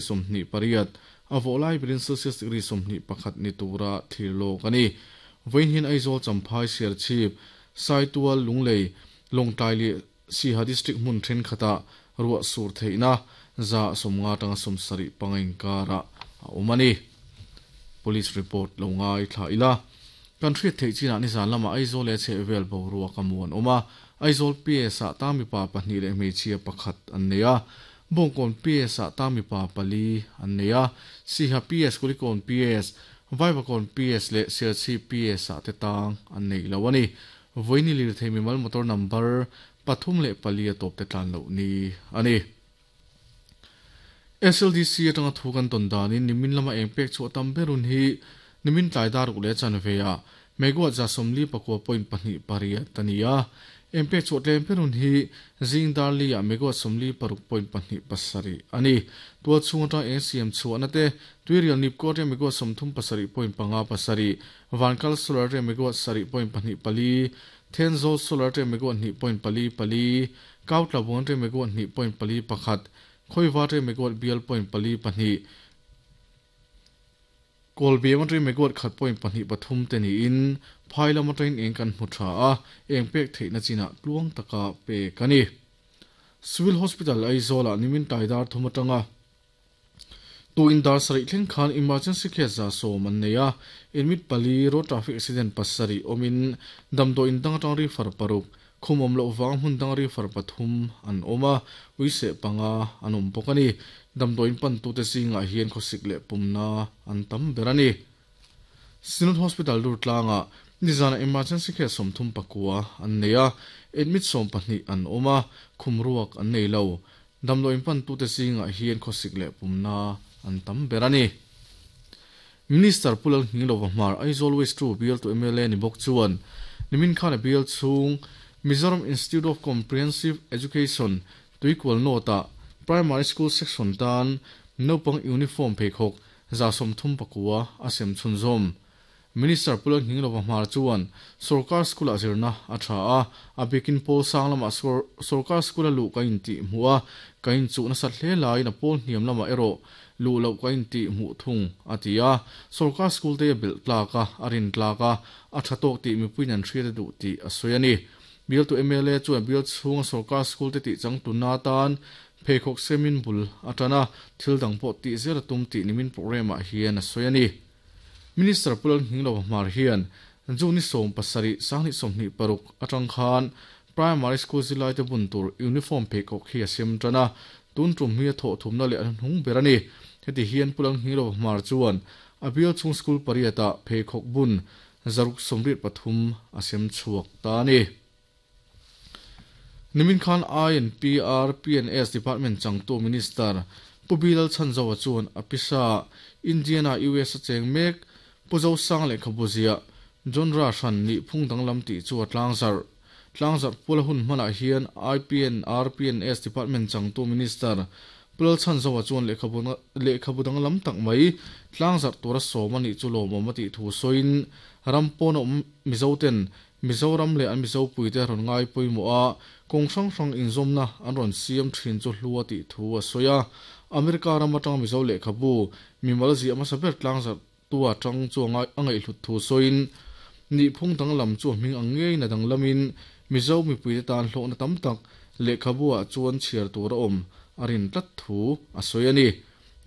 28, a vawh lai berin Celsius degree 21 ni tura thlir lawk a ni. Vawiin hian Aizawl, Champhai, Serchhip, Saitual, Lunglei, Lawngtlai leh Siha District hmun thenkhatah ruah sur theihna 50% atanga 75 inkarah a awm a ni. Police report lo ngaithla ila. Kan hriat theih chinah nizan lamah Aizawl leh a chhehvel boruak a muan awm a, Aizawl PS-ah tang mipa pahnih leh hmeichhia pakhat an nei a, Bawngkawn PS-ah tang mipa pali an nei a, Siha PS, Kulikawn PS, Vaivakawn PS leh Serchhip PS-ah te tang an nei lo a ni. Vawiini lirthei mimal motor number 3 leh 4 a tawp te tlan loh ni a ni. SLDC atanga thu kan tawn danin nimin lama eng pek chhuah tam ber hun hi nimin tlai dar ruk leh chanve ah megawatt 59.28 a ni a. Eng pek chhuah tlem ber hun hi zing dar li ah megawatt 56.27 a ni. Tual chhung atang eng siam chhuahna te Tuirial Nipko atanga megawatt 37.57, Vankal Solar atanga megawatt 7.24, Thenzawl Solar atanga megawatt 2.44, Kautlabung atanga megawatt 2.41, Khawiva atanga megawatt bial .42, Kawlbiam atanga megawatt 1.23 te niin phai lam atangin eng kan hmu tha a, eng pek theihna chinah tluang taka pek a ni. Civil Hospital Aizawlah nimin tlai dar thum atanga tu in dar sarih thleng khan emergency case 110 an nei a, admit pali, road traffic accident pasarih awmin damdawi in dang atang refer paruk, khum awm loh vang hmun dang refer pathum an awm a, uiseh panga an awm bawk a ni. Damdawi in pantute zingah hian khawsik leh pumna an tam ber a ni. Synod Hospital Durtlangah nizana emergency case 39 an nei a, admit 12 an awm a, khum ruak an nei lo. Damdawi in pantute zingah hian khawsik leh pumna an tam ber a ni. Minister Pu Lalnghinglova Hmar, Aizawl West 2 bialtu mla ni bawk chuan nimin khan a bial chhung Mizoram Institute of Comprehensive Education Tuikual North-ah Primary School Section tan naupang uniform pheikhawk 139 a sem chhunzawm. Minister Pu Lalnghinglova Hmar chuan sorkar school-ah zirna a tha a, a bikin pawl sang lamah sorkar school-a luh ka intih hmuh a, ka inchuh nasat hle laiin a pawl hniam lamah erawh luh loh ka intih hmuh thung, a ti a. Sorkar school te a belh tlak a, a rin tlak a, a tha tawk tih mipuiin an hriat a duh tih a sawi a ni. Bialtu mla chuan bial chhunga sorkar school te tih changtunna atan pheikhawk semin bul a tan a, thil dang pawh tih zel a tum tih nimin programme-ah hian a sawi a ni. Minister Pu Lalnghinglova Hmar hian June ni 17, 2026 atang khan Primary School zirlaite bun tur uniform pheikhawk hi a sem tan a, tun tum hi a thawh thumna leh a hnung ber a ni. Heti hian Pu Lalnghinglova Hmar chuan a bial chhung school pariatah pheikhawk bun 683 a sem chhuak ta a ni. Nimin khan INPR PNS Department changtu Minister Pu Bilal Chhanzoa chuan a pisa Indiana US a cheng mek Pu Zosang lehkhabu ziah Genre hran nih phung danglam tih chu a tlangzarh. Tlangzarh pula hun hmanah hian IPNR PNS Department changtu Minister Pu Lalchhanzoa chuan lehkhabu danglam tak mai tlangzarh tura sawm a nih chu lawmawm a tih thu sawiin ram pawn a awm Mizoten Mizoram leh an Mizopuite rawn ngai pawimawh a, kawng hrang hrang inzawmna an rawn siam thin chu hlu a tih thu a sawi a. America ram atanga Mizo lehkhabu mimal ziah hmasa ber tlangzarh tua tang chu a ngaihhlut thu sawiin, nihphung danglam chu a hming ang ngeiin a danglamin Mizo mipuite tan hlawhna tam tak lehkhabu ah chuan chhiar tur a awm a rin tlat thu a sawi a ni.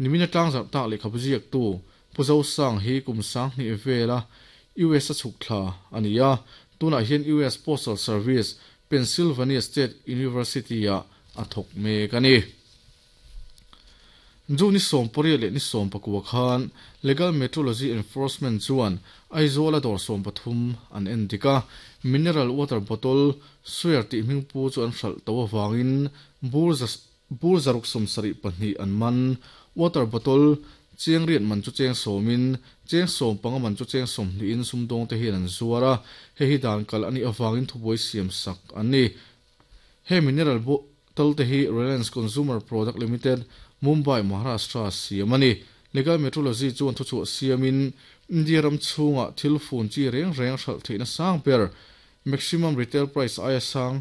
Nimina tlangzarh tak lehkhabu ziaktu Pu Zosang hi kum 2000 vela US a chhuk thla a ni a, tunah hian US Postal Service, Pennsylvania State University-ah a thawk mek a ni. June ni 18 leh ni 19 khan Legal Metrology Enforcement chuan Aizawl-a dawr 13 an en dik a, mineral water bottle Swear tih hming pu chu an hralh to avangin bur 672 an man. Water bottle cheng riat man chu cheng sawmin, cheng 15 man chu cheng 20in sumdawng te hian an zuar a, hei hi dan kal a nih avangin thubuai siam sak an ni. He mineral bottle te hi Reliance Consumer Product Limited, Mumbai, Maharashtra siam a ni. Legal Metrology chuan thuchhuah siamin India ram chhungah thil fun chi reng reng hralh theihna sang ber, maximum retail price aia sang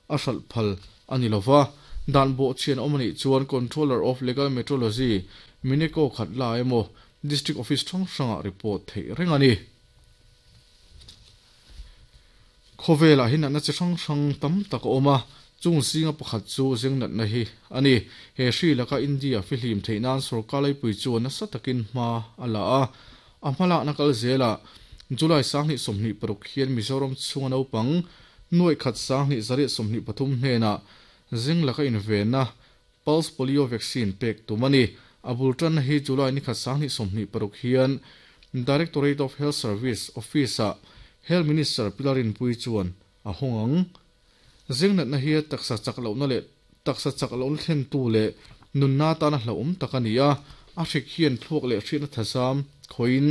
a hralh phal a ni lova. Dan bawhchhian awm a nih chuan Controller of Legal Metrology, Mineko Khatla emaw District Office hrang hrangah report theih reng a ni. Khawvelah hi natna chi hrang hrang tam tak a awm a, chung zinga pakhat chu zeng natna hi a ni. He hri laka India fihlim theih nan sorkar laipui chuan nasa takin hma a la a, a hmalakna kal zelah July 2026 hian Mizoram chhunga naupang nuaih khat 2123 hnenah zeng laka invenna Pulse Polio Vaccine pek tum a ni. A bul tanna hi July ni khat 2026 hian Directorate of Health Service Office-ah Health Minister Pi Larinpui chuan a hawng ang. Zeng natna hi taksa chak lohna leh taksa chak lohna thlentu leh nunna atana hlauhawm tak a ni a, a hrik hian thluak leh hriatna thazam khawiin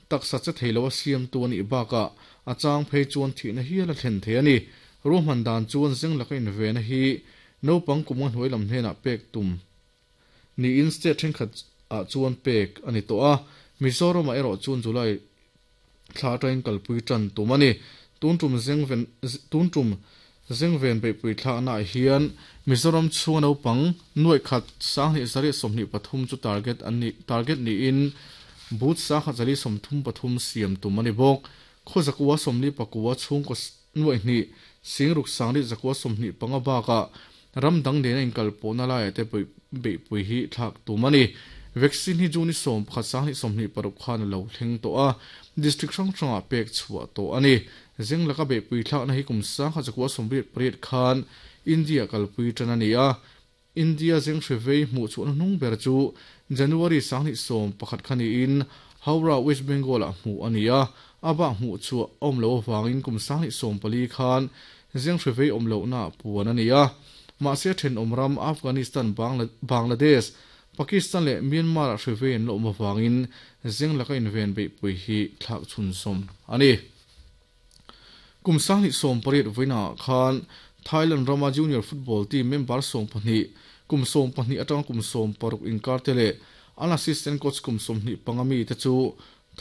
taksa che thei lo a siamtu a nih bakah a chang phei chuan thihna hial a thlen thei a ni. Ruahman dan chuan zeng laka invena hi naupang kum nga hnuai lam hnenah pek tum niin state thenkhat ah chuan pek a ni tawh a, Mizoram ah erawh chuan July thla atangin kalpui tan tum a ni. Tun tum zengven tun tum zengven beihpui thlakna ah hian Mizoram chhunga naupang nuaih khat 2223 chu target an ni target niin booth 1133 siam tum a ni bawk. Khaw zakua sawmli pakua chhungkaw nuaih hnih singruk sangli zakua 25 bakah ram dang nena inkalpawhna laiah te beihpui hi thlak tum a ni. Vaccine hi June 11 2026 khan a lo thleng tawh a, district hrang hrangah pek chhuah tawh a ni. Zeng laka beihpui thlakna hi kum 1988 khan India kalpui tan a ni a. India zeng hre vei hmuh chhuahna hnung ber chu January 21 kha niin Howrah, West Bengal-ah hmuh a ni a. A bak hmuh chhuah a awm loh avangin kum 2014 khan zeng hre vei awm lohna puan a ni a. Mahse thenawm ram Afghanistan, Bangladesh, Pakistan leh Myanmar-ah hre vei an la awm avangin zeng laka inven beihpui hi thlak chhunzawm a ni. Kum 2018 vawiinah khan Thailand rama junior football team member 12, kum 12 atanga kum 16 inkar te leh an assistant coach kum 25 mite chu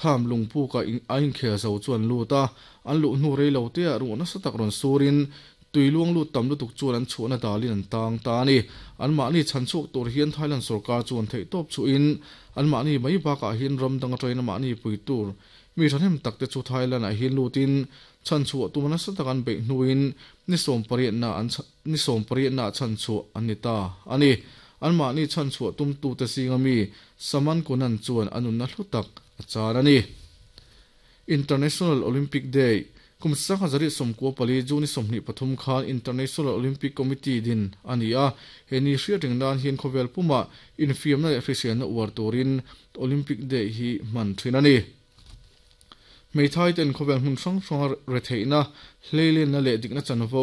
Tham lungpuka a inkhel zo chu an lut a, an luh hnu rei lo teah ruah nasa tak rawn surin tui luang lut tam lutuk chuan an chhuahna dalin an tang ta a ni. Anmahni chhan chhuak tur hian Thailand sorkar chuan theihtawp chhuhin anmahni mai bakah hian ram dang atangin amahni pui tur mi thahnem tak te chu Thailand-ah hian lutin chhan chhuah tuma nasa tak an beih hnuin ni sawmpariatna an ni sawmpariatna chhan chhuah an ni ta a ni. Anmahni chhan chhuah tumtute zinga mi Saman Kunan chuan a nunna hlu tak a char a ni. International Olympic Day, Kum 1994 June 23 khan International Olympic Committee din a ni a, he ni hriat reng nan hian khawvel pumah infiamna leh hriselna uar turin Olympic Day hi hman thin a ni. Hmeithai ten khawvel hmun hrang hranga retheihna, hleilenna leh dikna chanvo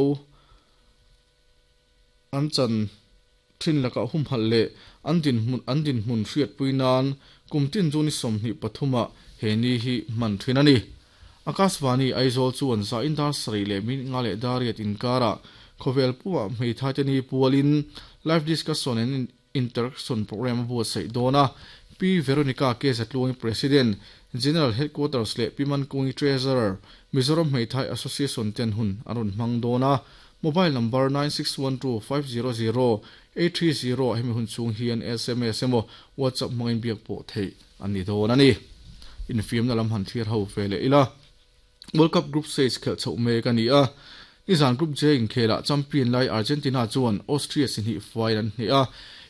an chan thin lakah humhalh leh an dinhmun an dinhmun hriatpui nan kum tin chu ni 23 ah he ni hi hman thin a ni. Akashvani Aizawl chuan zain dar sarih leh minute nga leh dar riat inkarah khawvel pumah hmeithai te ni pualin live discussion and interaction program a buatsaih dawn a. Pi Veronica K Zatluangi President, General Headquarters leh Pi Mankungi Treasurer, Mizoram Hmeithai Association ten hun an rawn hmang dawn a. Mobile number 9612500830 ah hemi hun chhung hian sms emaw WhatsApp hmangin biak pawh theih a ni dawn a ni. Infiamna lam han thlir ho ve leh ila. World Cup Group Stage khelh chhoh mek a ni a. Nizan Group J inkhelah champion lai Argentina chuan Austria si hnih fuain an hneh a.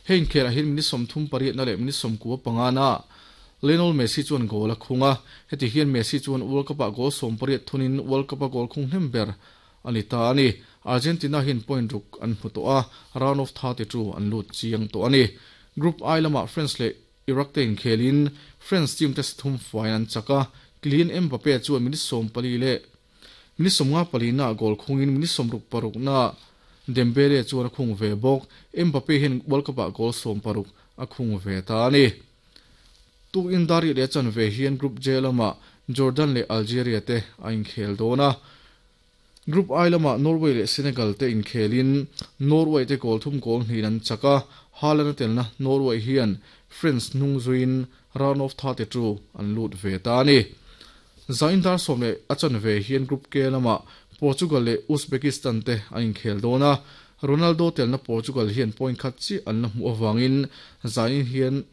Hei inkhelah hian minute 38 na leh minute 95 na Lionel Messi chuan goal a khung a. Heti hian Messi chuan World Cup-ah goal 18 thunin World Cup-a goal khung hnem ber a ni ta a ni. Argentina hian point ruk an hmu tawh a, round of 32 an lut chiang tawh a ni. Group I lamah France leh Iraq te inkhelin France team te sathum fuain an chak a, Kylian Mbappe chuan minute 14 leh minute 54 na goal khungin minute 66 na Dembele chuan a khung ve bawk. Mbappe hian World Cup-ah goal 16 a khung ve ta a ni. Tukin dar ih leh chan ve hian Group J lamah Jordan leh Algeria te a inkhel dawn a. Group I lamah Norway leh Senegal te inkhelin Norway te goal thum goal hnih an chak a, Haaland a telna Norway hian France hnung zuiin round of 32 an lut ve ta a ni. Zain dar sawm leh a chan ve hian Group K lamah Portugal leh Uzbekistan te an inkhel dawn a. Ronaldo telna Portugal hian point khat chiah an la hmuh avangin zanin hian